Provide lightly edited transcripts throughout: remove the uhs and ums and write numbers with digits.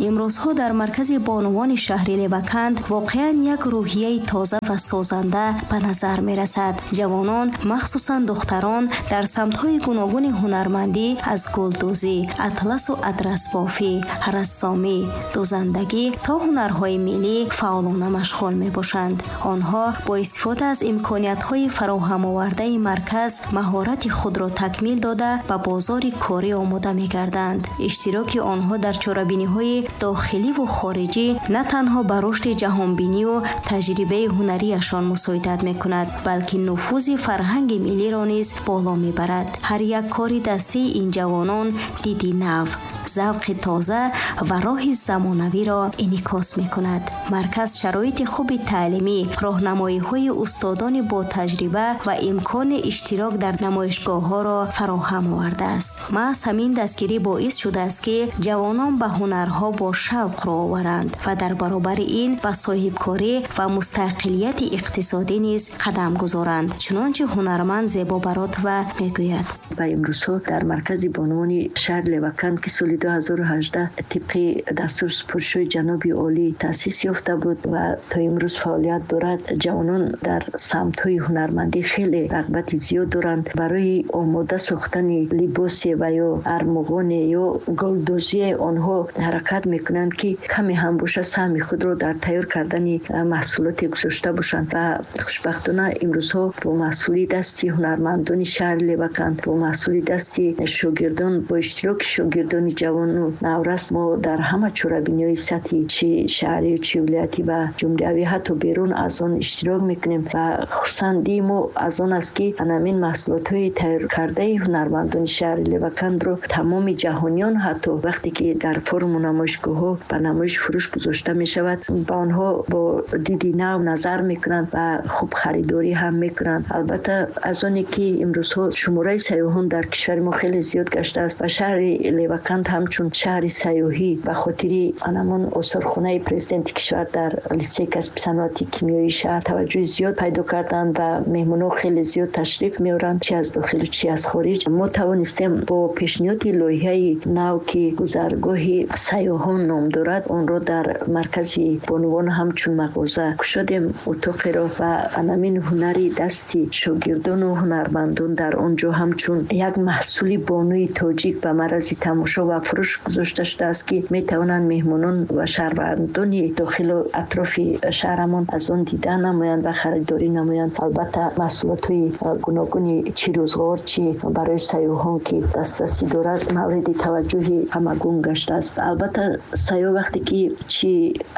Имрӯзҳо дар маркази бонувони шаҳри Леваканд воқеан як рӯҳияи тоза ва созанда ба назар мерасад. Ҷавонон, махсусан духтарон, дар самтҳои гуногуни ҳунармандӣ аз гулдӯзӣ, атласу адрасбофӣ, рассомӣ, дӯзандагӣ то ҳунарҳои миллӣ фаъолона машғул мебошанд. Онҳо бо истифода аз имкониятҳои фароҳамовардаи марказ маҳорати худро такмил дода, ба бозори корӣ омода мегарданд. Иштироки онҳо дар чорабиниҳои дохиливу хориҷӣ на танҳо ба рушди ҷаҳонбинию таҷрибаи ҳунарияшон мусоидат мекунад, балки нуфузи фарҳанги миллиро низ боло мебарад. Ҳар як кори дастии ин ҷавонон диди нав, завқи тоза ва роҳи замонавиро инъикос мекунад. Марказ шароити хуби таълимӣ, роҳнамоиҳои устодони ботаҷриба ва имкони иштирок дар намоишгоҳҳоро фароҳам овардааст. Маҳз ҳамин дастгирӣ боис шудааст, ки ҷавонон ба ҳунарҳо бо шавқ рӯ оваранд ва дар баробари ин ба соҳибкорӣ ва мустақилияти иқтисодӣ низ қадам гузоранд. Чунончи ҳунарманд Зебо Баротова мегӯяд. Ба имрӯзҳо дар маркази бонувони шаҳри Леваканд, ки соли 2018 тибқи дастуру супоришҳои ҷаноби олӣ таъсис ёфта буд ва то имрӯз фаъолият дорад, ҷавонон дар самтҳои ҳунармандӣ хеле рағбати зиёд доранд. Барои омода сохтани либосе ва ё армуғоне ё гулдӯзие онҳо ҳаракат мекунанд, ки каме ҳам бошад саҳми худро дар тайёр кардани маҳсулоте гузошта бошанд. Ва хушбахтона имрӯзҳо бо маҳсули дасти ҳунармандони шаҳри Леваканд, бо маҳсули дасти шогирдон, бо иштироки шогирдони ҷавону наврас мо дар ҳама чорабиниҳои сатҳи чи шаҳрию чи вилоятӣ ва ҷумҳуриявӣ, ҳатто берун аз он иштирок мекунем. Ва хурсандии мо аз он аст, ки ҳамин маҳсулотҳои тайёркардаи ҳунармандони шаҳри Левакандро тамоми ҷаҳониён, ҳатто вақте ки дар форуму намоишгоҳҳо ба намоиш фурӯш гузошта мешавад, ба онҳо бо диди нав назар мекунанд ва хуб харидорӣ ҳам мекунанд. Албатта, аз оне ки имрӯзҳо шумораи сайёҳон дар кишвари мо хеле зиёд гаштааст ва шаҳри Леваканд ҳамчун шаҳри сайёҳӣ ба хотири анамон осорхонаи президенти кишвар дар литсеи касби саноати кимиёии шаҳр таваҷҷӯҳи зиёд пайдо карданд ва меҳмонҳо хеле зиёд ташриф меоранд, чи аз дохилу чи аз хориҷ. Мо тавонистем бо пешниҳоди лоиҳаи нав, ки гузаргоҳи сайёҳон ном дорад, онро дар маркази бонувон ҳамчун мағоза кушодем утоқеро ва анамин ҳунари дасти шогирдону ҳунармандон дар он ҷо ҳамчун як маҳсули бонуи тоҷик ба маррази тамошо ва фурӯш гузошта шудааст, ки метавонанд меҳмонон ва шаҳрвандони дохилу атрофи шаҳрамон аз он дида намоянд ва харидорӣ намоянд. Албатта, маҳсулотҳои гуногуни чи рӯзғор, чи барои сайёҳон, ки дастрасӣ дорад, мавриди таваҷҷӯҳи ҳамагун гаштааст. Албатта, сайёҳ вақте ки чи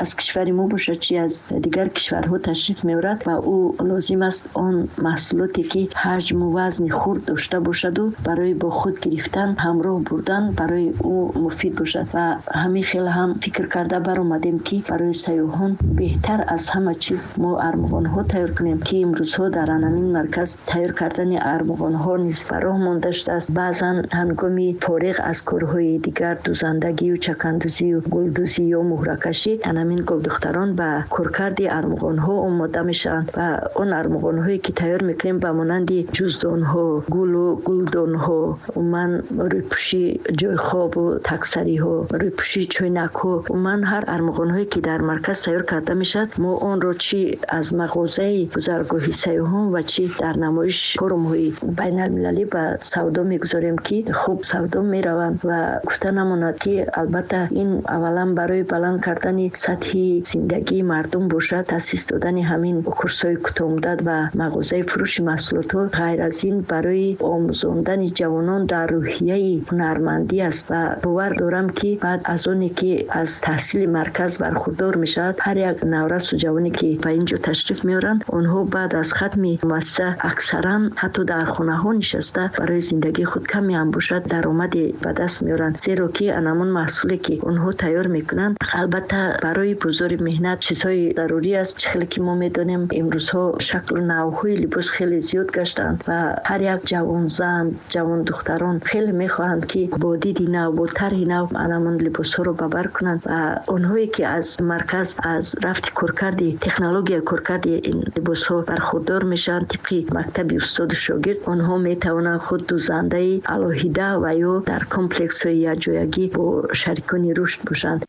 аз кишвари мо бошад, чи аз дигар кишварҳо ташриф меорад ва ӯ лозим аст он маҳсулоте, ки ҳаҷму вазни хурд дошта бошаду барои бо худ гирифтан, ҳамроҳ бурдан барои ӯ муфид бошад. Ва ҳамин хел ҳам фикр карда баромадем, ки барои сайёҳон беҳтар аз ҳама чиз мо армуғонҳо тайёр кунем, ки имрӯзҳо дар анамин марказ тайёр кардани армуғонҳо низ ба роҳ монда шудааст. Баъзан ҳангоми фориғ аз корҳои дигар, дӯзандагию чакандӯзию гулдӯзӣ ё муҳракашӣ, анамин гулдухтарон ба коркарди армуғонҳо омода мешаванд ва он армуғонҳое, ки тайёр мекунем, ба монанди ҷуздонҳо, гулу гулдонҳо, умуман рӯйпӯши ҷойхобу таксариҳо, рӯйпӯши чойнакҳо, умуман ҳар армуғонҳое, ки дар марказ тайёр карда мешавад, мо онро чи аз мағозаи гузаргоҳи сайёҳон ва чи дар намоиш форумҳои байналмилалӣ ба савдо мегузорем, ки хуб савдо мераванд. Ва гуфта намонад, ки албатта ин аввалан барои баланд кардани сатҳи зиндагии мардум бошад, таъсис додани ҳамин курсҳои кӯтоҳмуддат ва мағозаи фурӯши маҳсулотҳо, ғайр аз ин барои омӯзондани ҷавонон дар рӯҳияи ҳунармандӣ аст. Ва бовар дорам, ки баъд аз оне ки аз таҳсили марказ бархурдор мешавад, ҳар як наврасу ҷавоне, ки ба ин ҷо ташриф меоранд, онҳо баъд аз хатми муассиса аксаран ҳатто дар хонаҳо нишаста барои зиндагии худ каме ҳам бошад даромаде ба даст меоранд, зеро ки анамон маҳсуле, ки онҳо тайёр мекунанд, албатта барои бозори меҳнат чизҳои зарурӣ аст. Чӣ хеле ки мо медонем, имрӯзҳо шаклу навъҳои либос хеле зиёд гаштаанд ва ҳар як ҷавонзан, ҷавондухтарон хеле мехоҳанд, ки бо диди нав, бо тарҳи нав анамон либосҳоро ба бар кунанд. Ва онҳое, ки аз марказ аз рафти коркарди технологияи коркарди ин либосҳо бархурдор мешаванд, тибқи мактаби устоду шогирд, онҳо метавонанд худ дӯзандаи алоҳида ва ё дар комплексҳои якҷоягӣ бо шарикони рушд бошанд.